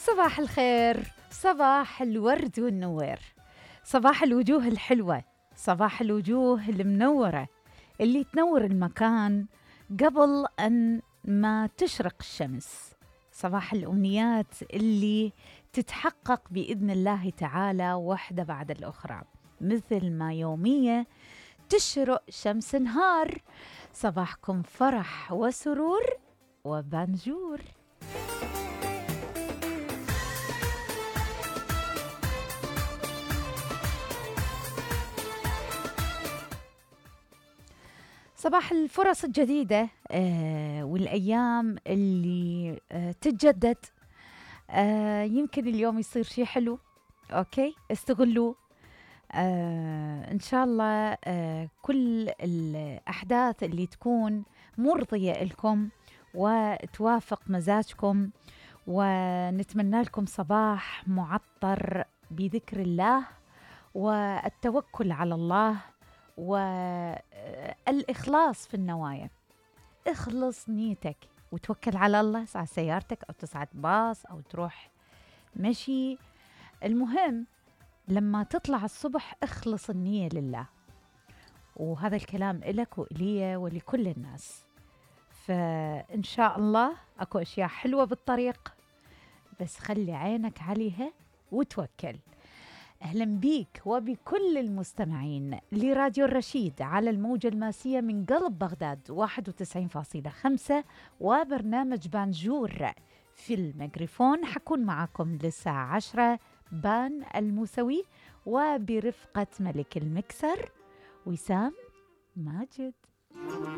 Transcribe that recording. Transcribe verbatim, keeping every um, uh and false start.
صباح الخير، صباح الورد والنوير، صباح الوجوه الحلوة، صباح الوجوه المنورة اللي تنور المكان قبل أن ما تشرق الشمس، صباح الأمنيات اللي تتحقق بإذن الله تعالى واحدة بعد الأخرى، مثل ما يومية تشرق شمس نهار. صباحكم فرح وسرور وبانجور. صباح الفرص الجديدة آه والأيام اللي آه تتجدد. آه يمكن اليوم يصير شيء حلو، أوكي استغلوه. آه إن شاء الله آه كل الأحداث اللي تكون مرضية لكم وتوافق مزاجكم، ونتمنى لكم صباح معطر بذكر الله والتوكل على الله والإخلاص في النوايا. اخلص نيتك وتوكل على الله، على سيارتك أو تصعد باص أو تروح مشي. المهم لما تطلع الصبح اخلص النية لله، وهذا الكلام إلك وإلي ولكل الناس. فإن شاء الله أكو أشياء حلوة بالطريق، بس خلي عينك عليها وتوكل. أهلا بيك وبكل المستمعين لراديو الرشيد على الموجة الماسية من قلب بغداد واحد وتسعين فاصلة خمسة، وبرنامج بانجور في الميكروفون. حكون معكم للساعة عشرة، بان الموسوي، وبرفقة ملك المكسر وسام ماجد.